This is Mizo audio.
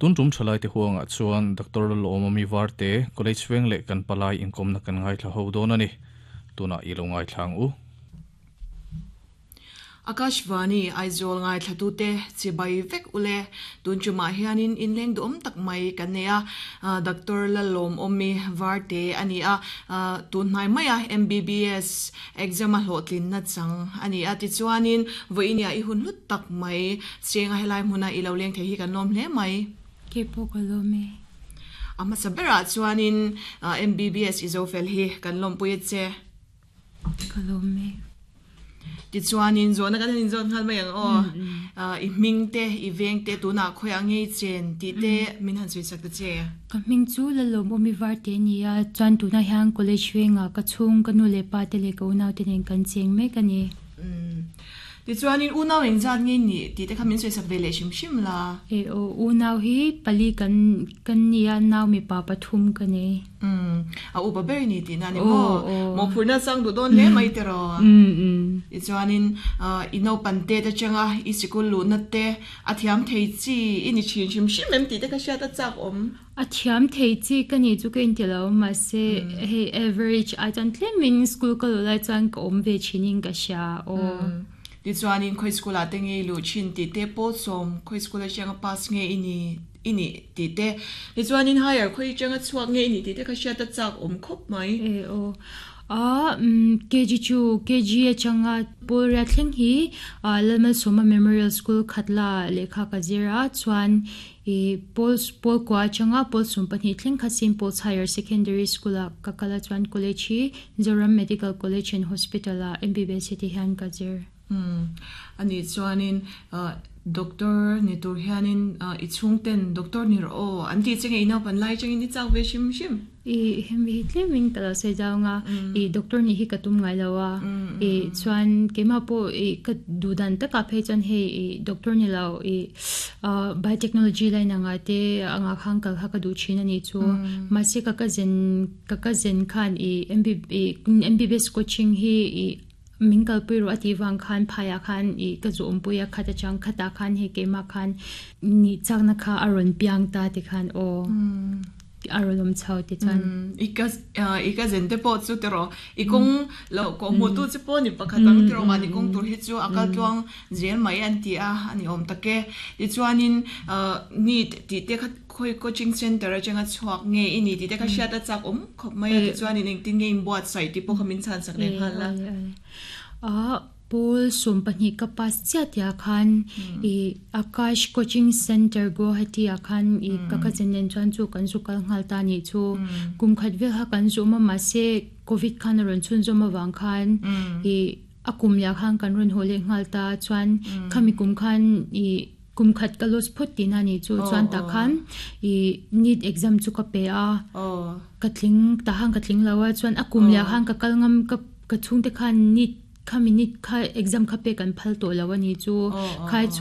Tun tum thalaite huangah chuan Doctor Lalawmawmi Varte, College veng leh kan palai inkawmna kan ngaithla ho dawn a ni. Tunah i lo ngaithla ang u. Akashvani Aizawl ngaithlatute chibai vek ule. Tun tumah hianin inleng duhawm tak mai kan nei a, Doctor Lalawmawmi Varte a ni a, tun hnai maia MBBS exam a hlawhtlinna chang a ni a. Tichuanin vawiinia i hun hlut tak mai chenga helai hmuna i lo leng thei hi kan lawm hle mai. Kei pawh ka lawm e. A hmasa berah chuanin MBBS i zo fel hi kan lawmpui a che. Ka lawm e. Tichuanin zawhna kan han inzawt nghal mai ang aw. I hming te, i veng te tunah khawiah ngei chen tih te min han sawi sak ta che. Ka hming chu Lalawmawmi Varte a ni a, chuan tunah hian college vengah ka chhung, ka nu leh pa te leh ka unau te nen kan cheng mek a ni. Tichuanin unau engzat nge nih tih te kha min sawisak ve leh hrim hrim la. E aw, unau hi pali kan kan nia, nau mipa pathum ka nei. Umm, a upa ber ni tihna a ni maw? Mawhphurhna chang duh dawn hle mai tiraw? Tichuanin i naupan te te changa i sikul luhna te a thiam thei chi i ni thin hrim hrim em tih te kha hriat a chak awm. A thiam thei chi ka nih chu ka inti lo, mahse hei average ai chuan tlemin school ka luh lai chuan ka awm ve thinin ka hria aw. Tichuanin khawi school ah te nge i luh thin tih te pawh sawm khawi school atanga pass nge i ni i nih tih te tichuanin higher khawi atanga chhuak nge i nih tih te kha hriat a chak awm khawp mai. E aw a KG chu KG atanga Pawlriat thleng hi Lalmalsawma Memorial School Khatla lehkha ka zir a chuan I pawl pawl kua atanga pawl 12 thleng kha Saint Paul's Higher Secondary School ah ka kal a chuan college hi Zoram Medical College and Hospital ah MBBS hi ti hian ka zir. Umm anih chuanin doctor ni tur hianin i chhungten doctor ni rawh aw an tih che nge i naupan lai atangin i chak ve hrim hrim. I hemi hi tlemin ka lo sawi zau anga i doctor nih hi ka tum ngai lo a i chuan keimah pawh i ka duh dan takah phei chuan hei i doctor ni lo i biotechnology line anga te anga khan kal kha ka duh thin a nih chu mahse ka cousin ka cousin khan i M_B_B_S coaching hi i min kalpui rawh a tih vang khan phaiah khan i ka zu awmpui a khat atang khatah khan hei keimah khan nih chakna kha a rawn piang ta ti khan aw a rawn awm chho ti chuan. I ka i ka zen te pawh chu tiraw i kawng lo kawh hmuh tu che pawh ni pakhat ang tiraw mahni kawng tur hi chu a kal tluang zel mai an ti a a ni awm tak e tichuanin NEET tih te kha Khawi coaching center atanga chhuak nge i ni tih te kha hriat a chak awm khawp mai a tichuanin engtin nge inbuatsaih tih pawh kha min chhansak leh nghal a. A pawl 12 ka pass chiah tihah khan i Akash coaching center Guwahati ah khan i ka cousin nen chuan chu kan zu kal nghal ta nih chu kum khat vel kha kan zu awm a mahse covid khan a rawn chhunzawm avang khan i a kum leh ah khan kan rawn haw leh nghal ta chuan khami kum khan i Kum khat ka loss phawt tihna a nih chu chuan tah khan i NEET exam chu ka pe a, ka tling tah khan ka tling lo a chuan a kum leh ah khan ka kal ngam ka ka chhungte khan NEET khami NEET kha exam kha pek an phal tawh lo a nih chu khai.